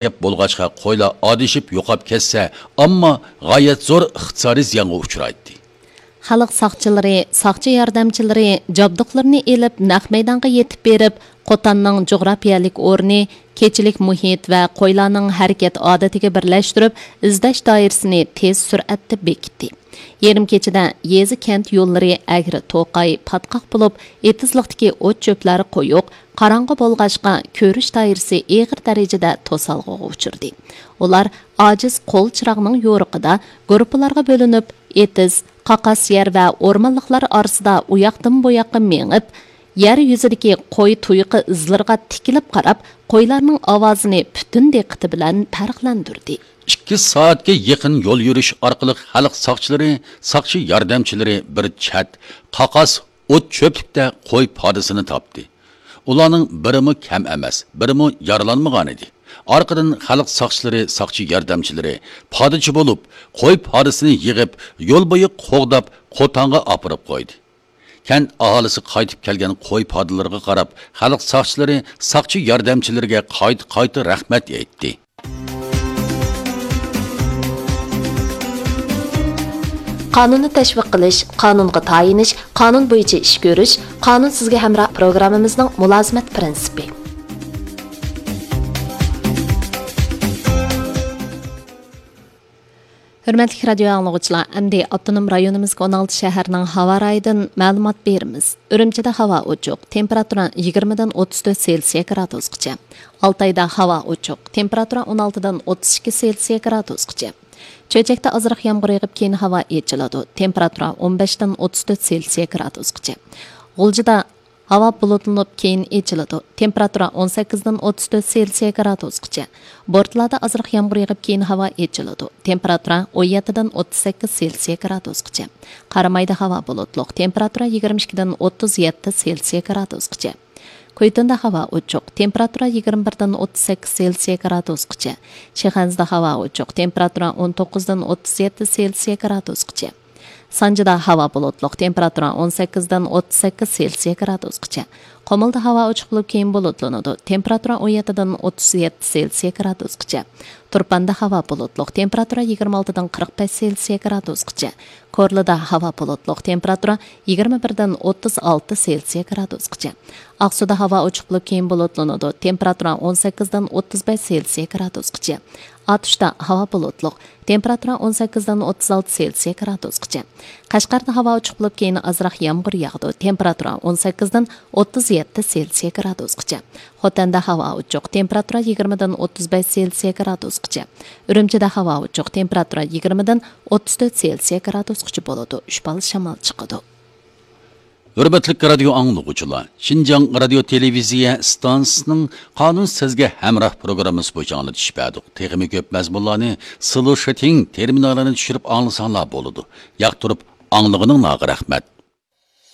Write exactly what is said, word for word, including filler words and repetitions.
گەپ بولغاچقا، قويلار ئادىشىپ يوقاپ كەتسە، ئامما غايەت زور ئىقتىسادىي زىيانغا ئۇچرايتتى. خەلق ساقچىلىرى، ساقچى ياردەمچىلىرى جابدۇقلىرىنى ئېلىپ، نەق مەيدانغا يېتىپ بېرىپ، قوتاننىڭ جۇغراپىيەلىك ئورنى، كېچىلىك مۇھىت ۋە قويلارنىڭ ھەرىكەت ئادىتىگە بىرلەشتۈرۈپ، ئىزدەش دائىرىسىنى تېز سۈرئەتتە بېكىتتى. يېرىم كېچىدە يېزا، كەنت يوللىرى ئەگرى توقاي، پاتقاق بولۇپ، ئېتىزلىقتىكى ئوت چۆپلەر قويۇق، قاراڭغۇ بولغاچقا، كۆرۈش دائىرىسى ئېغىر دەرىجىدە توسالغۇغا ئۇچرىدى. ئۇلار ئاجىز قول چىراغنىڭ يورۇقىدا گۇرۇپپىلارغا بۆلۈنۈپ، ئېتىز، قاقاس يەر ۋە ئورمانلىقلار ئارىسىدا ئۇياقتىن بۇياققا مېڭىپ، يەر يۈزىدىكى قوي تۇيىقى ئىزلىرىغا تىكىلىپ قاراپ، قويلارنىڭ ئاۋازىنى پۈتۈن دىققىتى بىلەن پەرقلەندۈردى. ئىككى سائەتكە يېقىن يول يۈرۈش ئارقىلىق خەلق ساقچىلىرى، ساقچى ياردەمچىلىرى بىر چەت، قاقاس ئوت چۆپلۈكتە قوي پادىسىنى تاپتى. ئۇلارنىڭ بىرىمۇ كەم ئەمەس، بىرىمۇ يارىلانمىغانىدى. ئارقىدىن خەلق ساقچىلىرى، ساقچى ياردەمچىلىرى پادىچى بولۇپ، قوي پادىسىنى يىغىپ، يول بويى قوغداپ، قوتانغا ئاپىرىپ قويدى. كەنت ئاھالىسى قايتىپ كەلگەن قوي پادىلىرىغا قاراپ، خەلق ساقچىلىرى ساقچى ياردەمچىلىرىگە قايتا-قايتا رەھمەت ئېيتتى. قانۇننى تەشۋىق قىلىش، قانۇنغا تايىنىش، قانۇن بويىچە ئىش كۆرۈش، قانۇن سىزگە ھەمراھ پروگراممىمىزنىڭ مۇلازىمەت پىرىنسىپى. ھۆرمەتلىك رادىيو ئاڭلىغۇچىلار، ئەمدى ئاپتونوم رايونىمىزدىكى ئون ئالتە شەھەرنىڭ ھاۋا رايىدىن مەلۇمات بېرىمىز. ئۈرۈمچىدە ھاۋا ئوچۇق، تېمپېراتۇرا يىگىرمىدىن ئوتتۇز تۆت سېلسىيە گرادۇسقىچە. ئالتايدا ھاۋا ئوچۇق، تېمپېراتۇرا ئون ئالتىدىن ئوتتۇز ئىككى سېلسىيە گرادۇسقىچە. چۆچەكتە ئازراق يامغۇر يېغىپ، كېيىن ھاۋا ئېچىلىدۇ، تېمپېراتۇرا ئون بەشتىن ئوتتۇز تۆت سېلسىيە گرادۇسقىچە. غۇلجىدا ھاۋا بۇلۇتلىنىپ، كېيىن ئېچىلىدۇ. تېمپېراتۇرا ئون سەككىزدىن ئوتتۇز تۆت سېلسىيە گرادۇسقىچە. بورتالادا ئازراق يامغۇر يېغىپ، كېيىن ھاۋا ئېچىلىدۇ. تېمپېراتۇرا ئون يەتتىدىن ئوتتۇز سەككىز سېلسىيە گرادۇسقىچە. قارامايدا ھاۋا بۇلۇتلۇق. تېمپېراتۇرا يىگىرمە ئىككىدىن ئوتتۇز يەتتە سېلسىيە گرادۇسقىچە. كۇيتۇندا ھاۋا ئوچۇق. تېمپېراتۇرا يىگىرمە بىردىن ئوتتۇز سەككىز سېلسىيە گرادۇسقىچە. شىخەنزىدە ھاۋا ئوچۇق. تېمپېراتۇرا ئون توققۇزدىن ئوتتۇز يەتتە سېلسىيە گرادۇسقىچە. سانجىدا ھاۋا بۇلۇتلۇق، تېمپېراتۇرا ئون سەككىزدىن ئوتتۇز سەككىز سېلسىيە گرادۇسقىچە. قۇمۇلدا ھاۋا ئوچۇق بولۇپ، كېيىن بۇلۇتلىنىدۇ، تېمپېراتۇرا ئون يەتتىدىن ئوتتۇز يەتتە سېلسىيە گرادۇسقىچە. تۇرپاندا ھاۋا بۇلۇتلۇق، تېمپېراتۇرا يىگىرمە ئالتىدىن قىرىق بەش سېلسىيە گرادۇسقىچە. كورلىدا ھاۋا بۇلۇتلۇق، تېمپېراتۇرا يىگىرمە بىردىن ئوتتۇز ئالتە سېلسىيە گرادۇسقىچە. ئاقسۇدا ھاۋا ئوچۇق بولۇپ، كېيىن بۇلۇتلىنىدۇ، تېمپېراتۇرا ئون سەككىزدىن ئوتتۇز بەش سېلسىيە گرادۇسقىچە. ئاتۇشتا ھاۋا بۇلۇتلۇق، تېمپېراتۇرا ئون سەككىزدىن ئوتتۇز ئالتە سېلسىيە گرادۇسقىچە. قەشقەردە ھاۋا ئوچۇق بولۇپ، كېيىن ئازراق يامغۇر ياغىدۇ، تېمپېراتۇرا ئون سەككىزدىن ئوتتۇز يەتتە سېلسىيە گرادۇسقىچە. خوتەندە ھاۋا ئوچۇق، تېمپېراتۇرا يىگىرمىدىن ئوتتۇز بەش سېلسىيە گرادۇسقىچە. ئۈرۈمچىدە ھاۋا ئوچۇق، تېمپېراتۇرا يىگىرمىدىن ئوتتۇز تۆت سېلسىيە گرادۇسقىچە بولىدۇ، ئۈچ بال شامال چىقىدۇ. ھۆرمەتلىك رادىيو ئاڭلىغۇچىلار، شىنجاڭ رادىيو تېلېۋىزىيە ئىستانسىسىنىڭ قانۇن سىزگە ھەمراھ پروگراممىسى بويىچە ئاڭلىتىش بەردۇق. تېخىمۇ كۆپ مەزمۇنلارنى سلوشىتىڭ تېرمىنالىنى چۈشۈرۈپ ئاڭلىساڭلار بولىدۇ. ياقتۇرۇپ ئاڭلىغىنىڭلارغا رەھمەت.